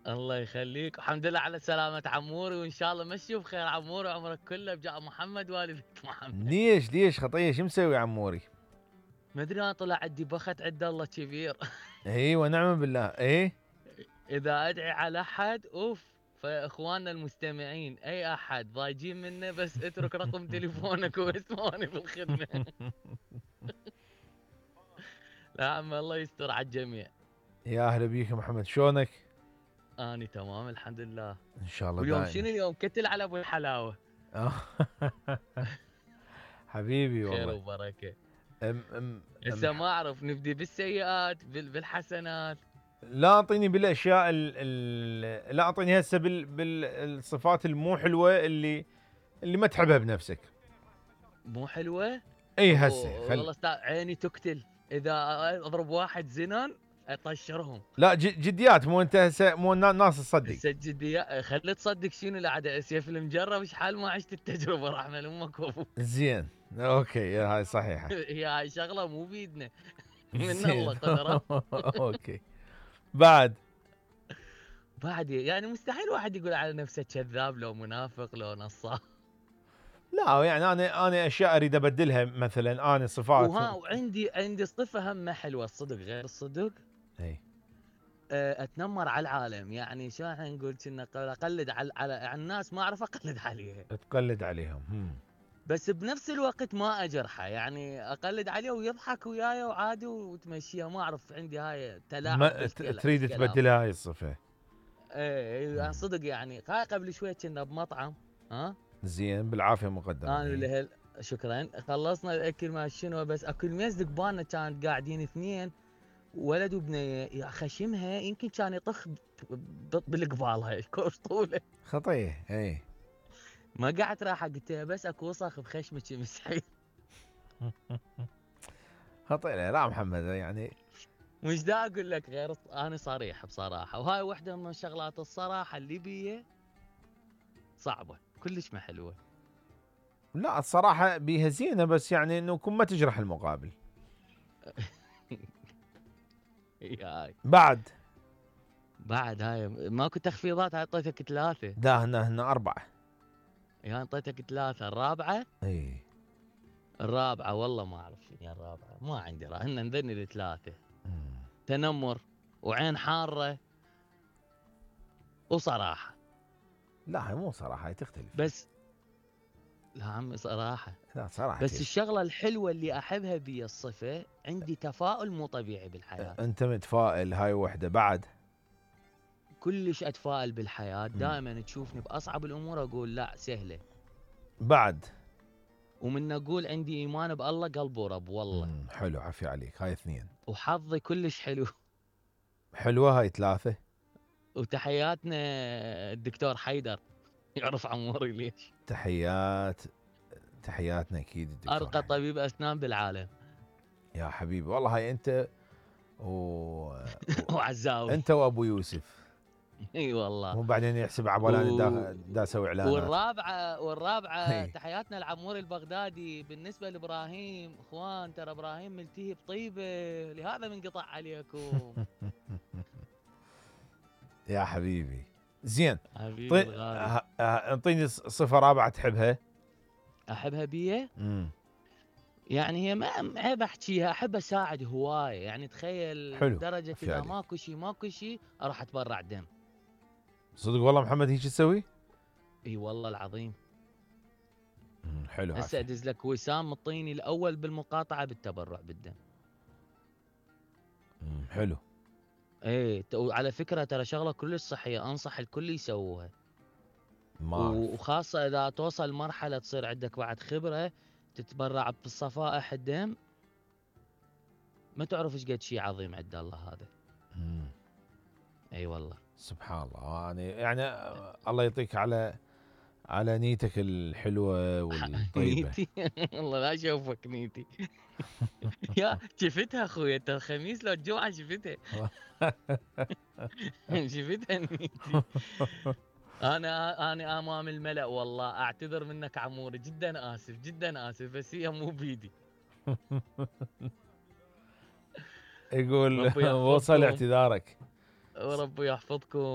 الله يخليك، والحمد لله على سلامة عموري، وإن شاء الله مشي بخير عموري وعمرك كله بجاه محمد وآل بيت محمد. ليش خطيه شو مسوي عموري؟ ما ادري انا طلع عندي بخت عند الله كبير. اي ونعم بالله. ايه اذا ادعي على احد فاخواننا المستمعين اي احد ضايجين منه بس اترك رقم تليفونك واسمعني في الخدمه. لا عم الله يستر على الجميع. يا اهلا بيك يا محمد، شلونك؟ اني تمام الحمد لله. ان شاء الله واليوم دائما. شنو اليوم؟ كتل على ابو الحلاوه. حبيبي خير والله. وبركه. أم أم هسه ما اعرف نبدي بالسيئات بالحسنات. لا اعطيني بالاشياء لا اعطيني هسه بالصفات المو حلوه اللي ما تحبها بنفسك. مو حلوه؟ اي هسه والله عيني تقتل اذا اضرب واحد زنان اطشرهم. لا جديات، مو انت هسه مو الناس تصدق. هسه جديات خلي تصدق شنو العاده سيف المجرب شحال ما عشت التجربه رحمه لامك وابوك. زين اوكي هاي صحيحه. هي هاي شغله مو بيدنا. من زين. الله قدره. اوكي. بعد يعني مستحيل واحد يقول على نفسه كذاب لو منافق لو نصاب. لا يعني انا اشياء اريد ابدلها، مثلا انا صفات وعندي صفه هم حلوه الصدق غير الصدق. اي اتنمر على العالم، يعني شو نقول كنا اقلد على الناس، ما اعرف اقلد عليها. تقلد عليهم. بس بنفس الوقت ما اجرحه، يعني اقلد عليه ويضحك وياي وعادي وتمشيها، ما اعرف عندي هاي تلاعب ما تريد تبدلها هاي الصفه. ايه صدق يعني قبل شوي كنا بمطعم. ها زين بالعافيه مقدما. انا ولهل شكرا. خلصنا الاكل ما شنو، بس اكل ميز دقبانه كانت قاعدين اثنين ولد وبنيه، يا خشمها يمكن كان يطخ بالقبال هاي كوش طوله. خطيه اي. ما قعدت راحه قلت لها بس اكو وسخ بخشمك مسحي. خطيه. لا محمد يعني مش دا اقول لك غير انا صريح بصراحه، وهاي واحده من شغلات الصراحه اللي بيه صعبه كلش ما حلوه. لا الصراحه بيها زينه، بس يعني انه كن ما تجرح المقابل. هاي بعد هاي ماكو تخفيضات، هاي اعطيتك 3. لا هنا 4. يعني اعطيتك 3 الرابعه. اي الرابعه والله ما اعرف شنو الرابعه، ما عندي هن نذني ال3. تنمر وعين حاره وصراحه. لا هي مو صراحه، هي تختلف. بس لا عمي صراحه. لا صراحه بس الشغله الحلوه اللي احبها بي الصفه، عندي تفاؤل مو طبيعي بالحياه. انت متفائل، هاي وحده. بعد كلش اتفائل بالحياه، دائما تشوفني باصعب الامور اقول لا سهله. بعد ومن اقول عندي ايمان بالله قلب ورب والله. حلو، عافية عليك. هاي 2. وحظي كلش حلو. حلوه هاي 3. وتحياتنا الدكتور حيدر، يعرف عموري ليش. تحياتنا اكيد الدكتور ارقى حيدر. طبيب اسنان بالعالم. يا حبيبي والله هاي انت وعزاوي. انت وابو يوسف. اي والله. مو بعدين يحسب عبالاني دا اسوي اعلانات. والرابعه تحياتنا العموري البغدادي. بالنسبه لابراهيم اخوان، ترى ابراهيم ملتهي بطيبه لهذا منقطع عليكم. يا حبيبي زين. حبيبي الغالي. اعطيني صفه رابعه تحبها. احبها بيه. يعني هي ما عيب احكيها، احب اساعد هوايه، يعني تخيل حلو. درجه اذا ماكو شيء اروح اتبرع دم. صدق والله محمد هيك تسوي؟ اي والله العظيم. حلو. هسه ادز لك وسام الطيني الاول بالمقاطعه بالتبرع بالدم. حلو. ايه وعلى فكره ترى شغله كلش صحيه، انصح الكل يسووها. وخاصه اذا توصل مرحله تصير عندك بعد خبره تتبرع بالصفائح الدم، ما تعرف ايش قد شيء عظيم عند الله هذا. اي والله سبحان الله. يعني الله يعطيك على نيتك الحلوه والطيبه. نيتي والله لا اشوفك نيتي. يا شفتها اخوي انت الخميس لو الجمعه شفتها. شفتها نيتي. انا امام الملأ والله اعتذر منك عموري، جدا اسف بس هي مو بيدي. يقول وصل اعتذارك. وربي يحفظكم.